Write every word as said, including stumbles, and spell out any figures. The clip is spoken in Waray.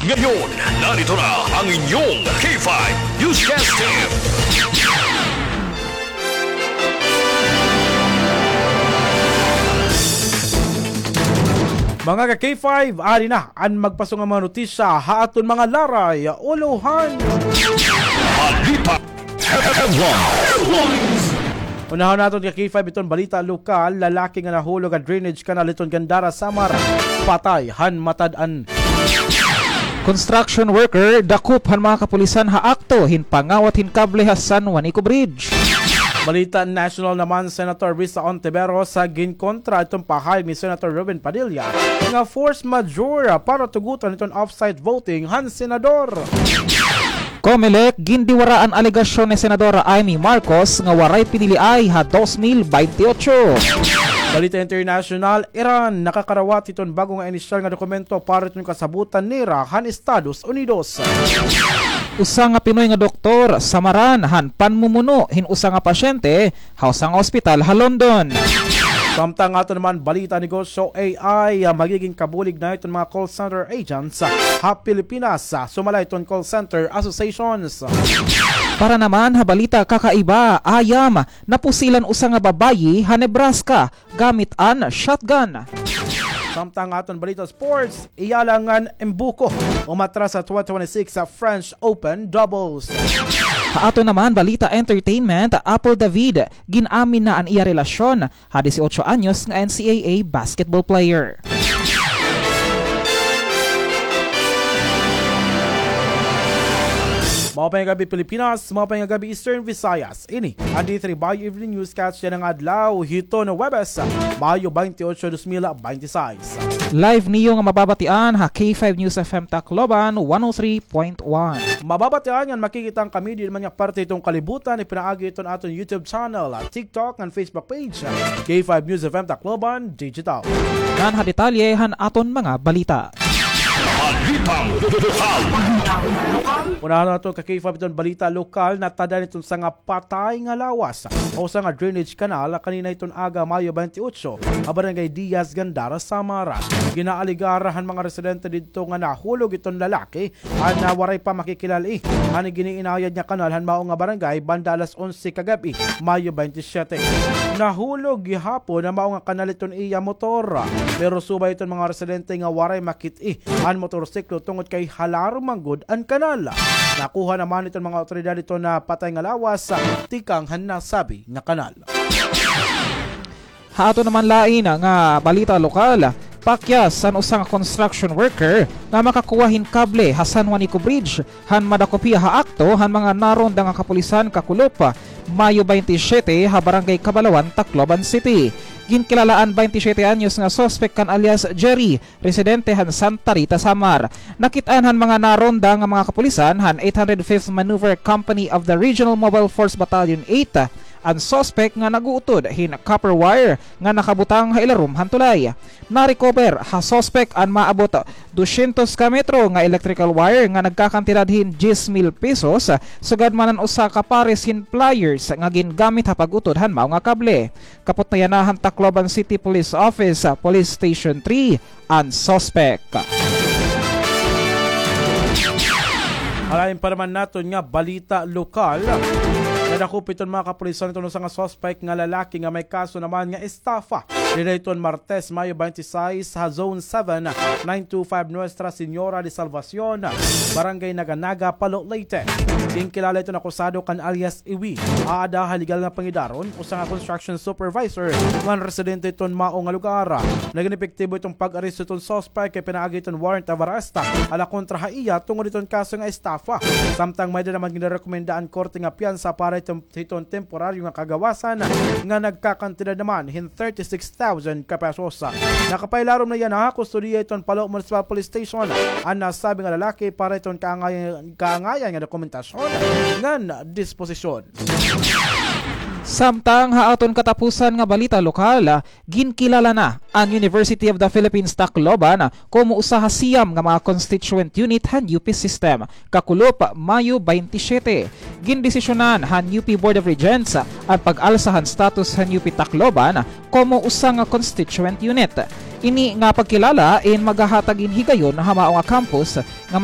Ngayon, narito na ang inyong K five Newscast Team. Mga ka-K five, ari na an magpaso nga mga notisya ha aton mga laray, ulohan. Balita Headlines. Unahon naton ka-K five iton balita lokal, lalaki nga nahulog ha drainage canal iton Gandara, Samar, patay han matad-an. Construction worker dakop han mga kapulisan ha akto hin pangawat hin kable ha San Juanico Bridge. Balita national naman, Senator Risa Ontiveros ginkontra iton pahayag ni Senator Robin Padilla nga force majeure para tugotan iton off-site voting han senador. Comelec, gindiwara an alegasyon ni Senadora Imee Marcos nga waray piniliay ha dos mil baynte otso. Balita international, Iran nakakarawat hiton bag-o nga inisyal nga dokumento para hiton kasabotan nira han Estados Unidos. Usa nga Pinoy nga doktor samaran han panmumuno hin usa nga pasyente ha usa nga ospital ha London. Samtang aton naman balita negosyo, A I, ah, magigin kabulig na iton mga call center agents, ah, ha Pilipinas, ah, sumala iton call center associations. Para naman ha balita kakaiba, ayam, napusilan usa nga babayi ha Nebraska gamit an shotgun. Samtang aton balita sports, Iyala ngan Mbuko umatras sa twenty twenty-six sa French Open Doubles. Ha aton naman balita entertainment, Apple David, gin-amin na an iya relasyon ha disiotso anyos nga N C A A basketball player. Maupay nga gab-i, Pilipinas. Maupay nga gab-i, Eastern Visayas. Ini an D three Bayo Evening Newscast yana nga adlaw hiton Huwebes, Mayo baynte otso, dos mil baynte sais. Live niyo nga mababatian ha K five News F M Tacloban, one oh three point one. Mababatian ngan makikita an kami didi man nga parte hiton kalibutan, ipinaagi hiton aton YouTube channel, TikTok, ngan Facebook page, K five News F M Tacloban Digital. Ngan ha detalye han aton mga balita. Balitang lokal. Unahon naton ka-K five iton balita lokal, natada iton usa nga patay nga lawas ha usa nga drainage canal kanina hiton aga, Mayo baynte otso, ha Barangay Diaz, Gandara, Samar. Ginaalegar han mga residente didto nga nahulog iton lalaki han, ah, waray pa makikilala-i han gin-iinayad nga kanal han mao nga barangay banda alas onse kagab-i, Mayo baynte siyete. Nahulog gihapon han mao nga kanal iton iya motor, pero subay iton mga residente nga waray makit-i an motorsiklo tungod kay halarom man gud an kanal. Nakuha naman iton mga awtoridad iton patay nga lawas tikang han nasabi nga kanal. Ha aton naman lain nga balita lokal, pakyas an usa nga construction worker nga makakuha hin kable ha San Juanico Bridge han madakop hiya ha akto han mga naronda nga kapulisan kakulop, Mayo baynte siyete, ha Barangay Cabalawan, Tacloban City. Ginkilala an baynte siyete anyos nga suspek kan alias Jerry, residente han Santa Rita, Samar. Nakit-an han mga naronda nga mga kapulisan han eight hundred fifth Maneuver Company of the Regional Mobile Force Battalion eight an suspek nga nag-uutod hin copper wire nga nakabutang ha ilarom han tulay. Na-recover ha suspek an maabot dosyentos ka metro nga electrical wire nga nagkakantidad hin diyes mil pesos, sugad man an usa ka pares hin pliers nga gingamit ha pag-utod han mao nga kable. Kapot na yana han Tacloban City Police Office, Police Station three, an suspek. Halain pa naman naton nga balita lokal, nadakop iton mga kapulisan iton usa nga suspek nga lalaki nga may kaso naman nga estafa. Dida iton Martes, Mayo baynte sais, ha Zone seven, nine two five Nuestra Señora de Salvacion, Barangay Naga-Naga, Palo, Leyte. Ginkilala iton akusado kan alias Iwi, aada ha legal nga pangidaron, usa nga construction supervisor ngan residente iton mao nga lugar. Nagin epektibo iton pag-aresto iton suspek kay pinaagi iton warrant of arrest ala kontra ha iya tungod iton kaso nga estafa. Samtang may-ada naman ginrekomenda an korte nga piyansa para iton, iton temporaryo nga kagawasan nga nagkakantidad naman hin thirty-six thousand ka pesos. Nakapailarom na yana ha kustodiya iton Palo Municipal Police Station an nasabi nga lalaki para iton kaangayan, kaangayan nga dokumentasyon ngan disposisyon. Samtang ha aton katapusan nga balita lokal, ginkilala na an University of the Philippines Tacloban komo usa ha siyam nga mga constituent unit han U P system. Kakulop, Mayo baynte siyete, gindesisyonan han U P Board of Regents an pag-alsa han status han U P Tacloban komo usa nga constituent unit. Ini nga pagkilala in magahatag hin higayon ha mao nga campus nga